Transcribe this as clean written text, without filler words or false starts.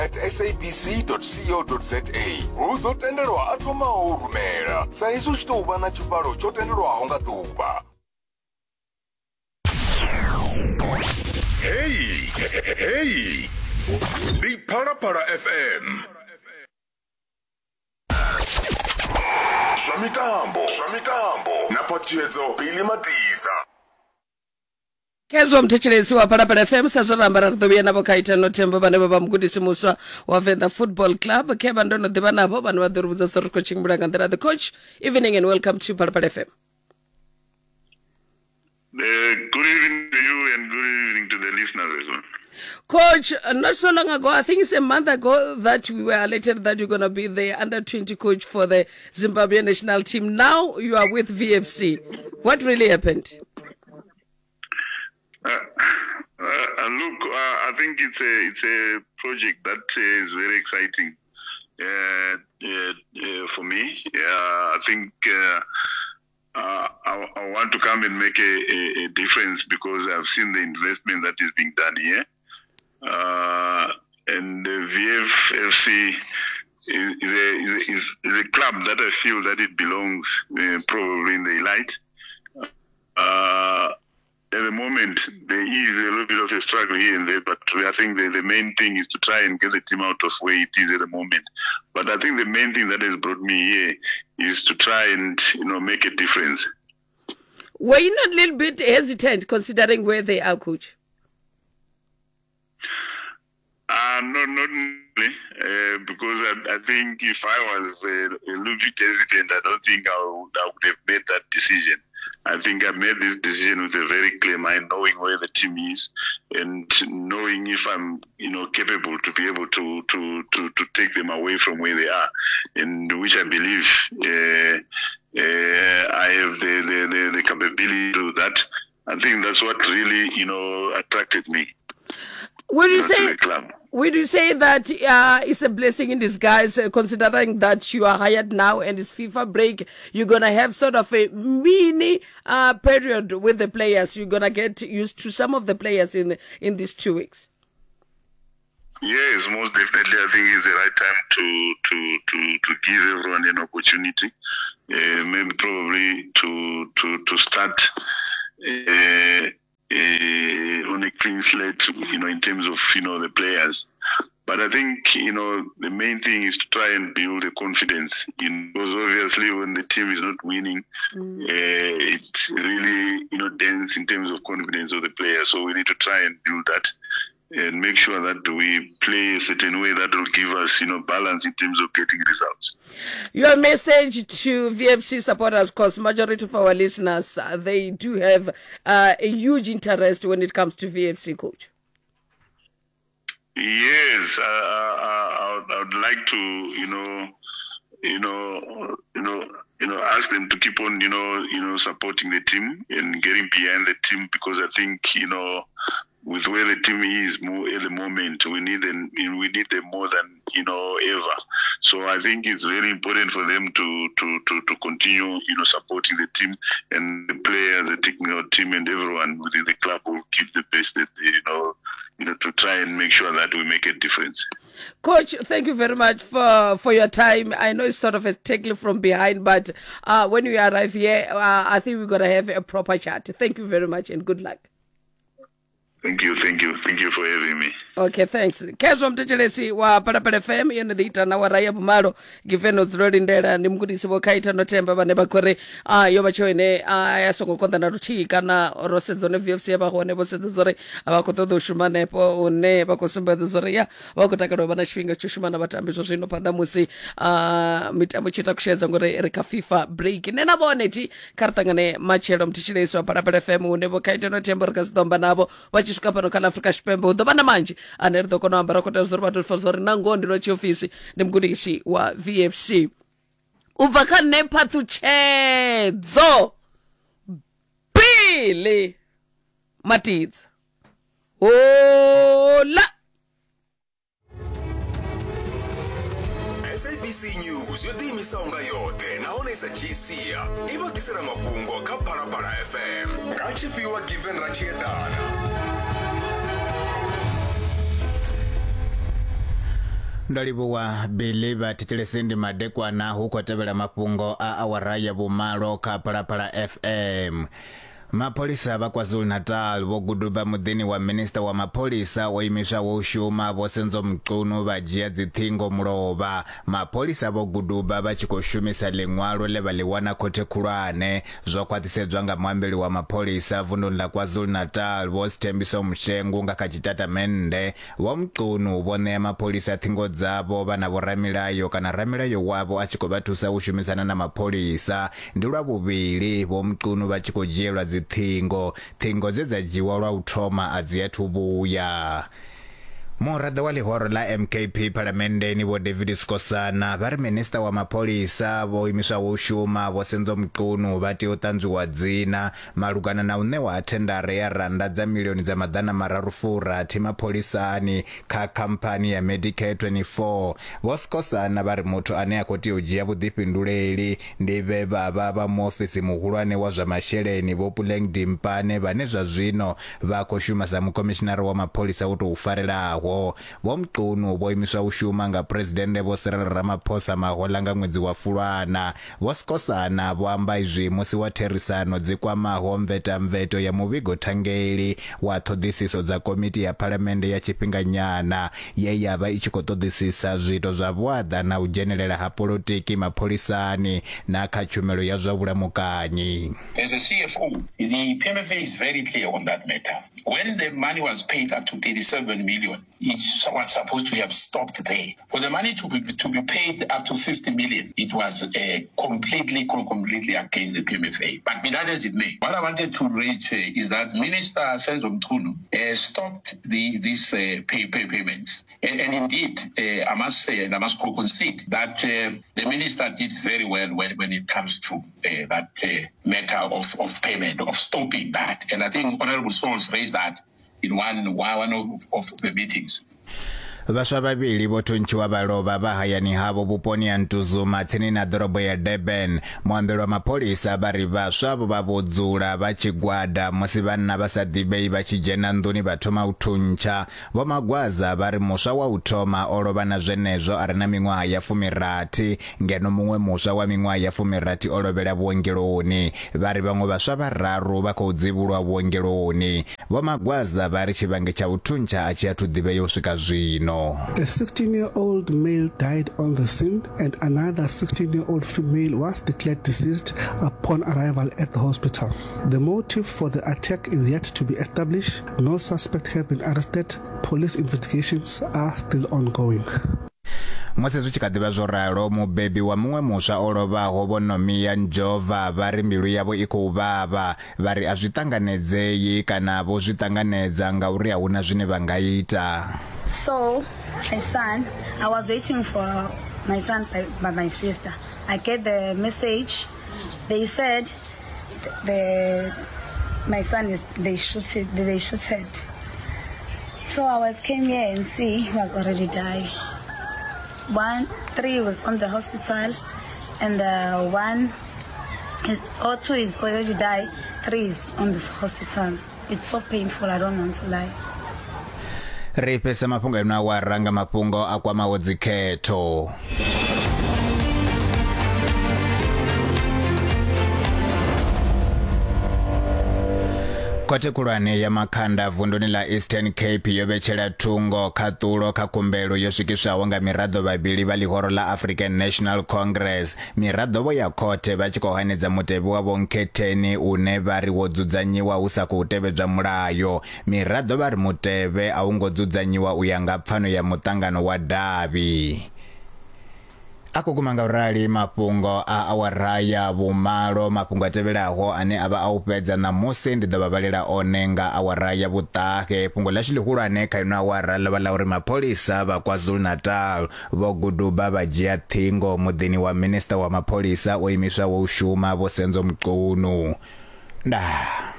at sabc.co.za hu ḓo tendelwa a thomaho u rumela sa izwi hu tshi tou vha na tshivhalo tsho tendelwaho nga ḓuvha. Heyi heyi ndi Phalaphala FM. Zwa mitambo, zwa mitambo na phaṱhutshedzo Billy Matiza. Khezwo muthetshelesi wa Phalaphala FM sa zwo ramba ra ri ḓo vhuya navho kha Itano Thembo vhane vha vha mugudisi muswa wa Venḓa Football Club khe vha ndo no ḓivha navho vhane vha ḓo ri vhudza zwa ri khou tshimbila nga nḓila the coach evening and welcome to Phalaphala FM. Good evening to you and good evening to the listeners as well. Coach, not so long ago, I think it's a month ago that we were alerted that you're going to be the under 20 coach for the Zimbabwe national team. Now you are with VFC. What really happened? Look, I think it's a it's a project that is very exciting for me. I think I, I, want to come and make a, a, a, difference because I've seen the investment that is being done here. And the VFFC is, is, a, is, is, a club that I feel that it belongs probably in the elite. At the moment, there is a little bit of a struggle here and there, but I think the, the main thing is to try and get the team out of where it is at the moment. But I think the main thing that has brought me here is to try and you know make a difference. Were you not a little bit hesitant considering where they are, coach? No, not really, because I, I think if I was a little bit hesitant, I don't think I would, I would have made that decision. I think I made this decision with a very clear mind, knowing where the team is and knowing if I'm, you know, capable to be able to to to, to take them away from where they are, and which I believe I have the, the, the, the capability to do that. I think that's what really, you know, attracted me. Would you say would you say that it's a blessing in disguise, considering that you are hired now and it's FIFA break? You're gonna have sort of a mini period with the players. You're gonna get used to some of the players in the, in these two weeks. Yes, most definitely. I think it's the right time to to to, to give everyone an opportunity, maybe probably to to to start. On a clean slate, you know, in terms of you know the players. But I think you know the main thing is to try and build the confidence. You know, because obviously when the team is not winning, it really you know dents in terms of confidence of the players. So we need to try and build that and make sure that we play a certain way that will give us, you know, balance in terms of getting results. Your message to VFC supporters, because majority of our listeners, they do have a huge interest when it comes to VFC, coach. Yes, I, I, I would like to, you know, you know, you know, you know, ask them to keep on, you know, you know, supporting the team and getting behind the team because I think, you know, with where the team is more at the moment, we need them. We need them more than you know ever. So I think it's very important for them to to to, to continue, you know, supporting the team and the players, the technical team, and everyone within the club will give the best that they, you know, you know, to try and make sure that we make a difference. Coach, thank you very much for, for your time. I know it's sort of a tackle from behind, but when we arrive here, I think we're going to have a proper chat. Thank you very much and good luck. Thank you, thank you, thank you for having me. Okay, thanks. Khezwo mthetshelesi wa Phalaphala FM yo no ḓi ita na wara ya vhumalo given o dzula lindela ndi mugudisi vho khaita no themba vhane vha khou ri ah, yo vha tsheo ine ah, ya songo konḓa na luthihi kana ro sedza hone VFC ya vha hone vho sedza zwori vha khou ṱoḓa u shuma hanefho hune vha khou sumbedza zwori ya vha khou takalela u vha na tshifhinga tsho shuma na vhatambi zwa zwino phanḓa musi ah, mitambo tshi ita kushedza ngori ri kha FIFA break nṋe na vhone thi kha ri ṱangane matshelo mthetshelesi wa Phalaphala FM hune vho khaita no themba ri kha si ḓo amba navho vha tshi swika fhano kha ḽa Afrika Tshipembe hu ḓo vha na manzhi ane ri ḓo kona u amba ra khou tea zwa uri vha tou pfa zwa uri na ngoho ndi lwa tshiofisi ndi mugudisi wa VFC u bva kha nṋe phaṱhutshedzo Billy Matidza hola sabc news yo ḓiimisaho nga yoṱhe nahone i sa dzhii sia i vha ḓisela mafhungo kha phalaphala fm nga tshifhiwa given ra tshi eḓana. Ndo livhuwa Billy. Vha thetshelesi, ndi madekwana, hu khou tevhela mafhungo a awara ya vhumalo kha Phalaphala FM. Mapholisa vha KwaZulu-Natal vho guduba muḓini wa minista wa mapholisa o imiswaho u shuma Vho Senzo Mchunu vha dzhia dziṱhingo mulovha. Mapholisa vho guduba vha tshi khou shumisa ḽiṅwalo ḽe vha ḽi wana khothe khulwane. Zwo khwaṱhisedzwa nga muambeli wa mapholisa vunduni ḽa KwaZulu-Natal Vho Sthembiso Mshengu nga kha tshitatamennde. Vho Mchunu vho ṋea mapholisa ṱhingo dzavho vha na vhoramilayo kana ramilayo wavho a tshi khou vha thusa u shumisana na mapholisa. Ndi lwa vhuvhili Vho Mchunu vha tshi khou dzhielwa dziṱhingo. Ṱhingo dze dza dzhiwa lwa u thoma a dzi athu vhuya. Muraḓo wa ḽihoro ḽa MKP Phalamenndeni Vho David Skosana vha ri minisiṱa wa mapholisa vho imiswaho u shuma Vho Senzo Mchunu vha tea u ṱanzwiwa dzina malugana na u ṋewa ha thendara ya rannda dza milioni dza maḓana mararu furathi mapholisani kha khamphani ya Medicare 24. Vho Skosana vha ri muthu ane a khou tea u dzhia vhuḓifhinduleli ndi vhe vha vha vha muofisi muhulwane wa zwa masheleni Vho Puleng Dimpane vhane zwa zwino vha khou shuma sa mukhomishinara wa mapholisa wo tou farelaho. Vho Mchunu vho imiswa u shuma nga Phresidennde Vho Cyril Ramaphosa mahoḽa nga ṅwedzi wa Fulwana. Vho Skosana vho amba izwi musi wa therisano dzi kwamaho mvetamveto ya muvhigo thangeli wa ṱhoḓisiso dza komiti ya phalamennde ya tshifhinganyana ye ya vha i tshi khou ṱoḓisisa zwiito zwa vhuaḓa na u dzhenelela ha polotiki mapholisani na kha tshumelo ya zwa vhulamukanyi. As a CFO, the PMFA is very clear on that matter. When the money was paid up to 37 million, it was supposed to have stopped there. For the money to be, to be paid up to 50 million, it was uh, completely, completely against the PMFA. But be that as it may, what I wanted to raise uh, is that Minister Senzo Mchunu uh, stopped the, these uh, pay, pay payments. And, and indeed, uh, I must say, and I must concede that uh, the minister did very well when, when it comes to uh, that uh, matter of, of payment, of stopping that. And I think Honorable Souls raised that in one, one of, of the meetings. Vhaswa vhavhili vho thuntshiwa vha lovha vha hayani havho vhuponi ha Ntuzuma tsini na ḓorobo ya Durban. Muambeli wa mapholisa vha ri vhaswa vho vha vho dzula vha tshigwada musi vhanna vha sa ḓivhei vha tshi dzhena nḓuni vha thoma u thuntsha. Vho Magwaza vha ri muswa wa u thoma o lovha na zwenezwo a re na miṅwaha ya fumirathi ngeno muṅwe muswa wa miṅwaha ya fumirathi o lovhela vhuongeloni. Vha ri vhaṅwe vhaswa vhararu vha khou dzivhulwa vhuongeloni. Vho Magwaza vha ri tshivhangi tsha u thuntsha a tshi athu ḓivhea u swika zwino. A 16-year-old male died on the scene and another 16-year-old female was declared deceased upon arrival at the hospital. The motive for the attack is yet to be established. No suspect have been arrested. Police investigations are still ongoing. Musi zwi tshi kha ḓi vha zwo ralo, mubebi wa muṅwe muswa o lovhaho Vho Nomia Njova vha ri mbilu yavho i khou vhavha. Vha ri a zwi ṱanganedzei kana vho zwi ṱanganedza ngauri a hu na zwine vha nga ita. So, my son, I was waiting for my son by, by my sister. I get the message. They said the my son is they shoot it, they shooted. So I was came here and see he was already died. One, three was on the hospital, and the one is or two is already died. Three is on this hospital. It's so painful. I don't want to lie. Ri fhesa mafhungo eno awara nga mafhungo a kwamaho dzikhetho. Khothe khulwane ya Makhanda vunduni ḽa Eastern Cape yo vhetshela thungo khaṱulo kha khumbelo yo swikiswaho nga miraḓo vhavhili vha ḽihoro ḽa African National Congress. Miraḓo vho ya khothe vha tshi khou hanedza mutevhe wa Vho Nkhetheni une vha ri wo dzudzanyiwa hu sa khou tevhedzwa mulayo. Miraḓo vha ri mutevhe a u ngo dzudzanyiwa u ya nga pfano ya muṱangano wa davhi. A khou guma nga u rali mafhungo a awara ya vhumalo. Mafhungo a tevhelaho ane a vha a u fhedza ṋamusi ndi ḓo vha vhalela one nga awara ya vhuṱahe. Fhungo ḽashu ḽihulwane kha ino awara ḽo vha ḽa uri mapholisa vha KwaZulu-Natal vho guduba vha dzhia ṱhingo muḓini wa minisiṱa wa mapholisa o imiswaho u shuma Vho Senzo Mchunu. Ndaa.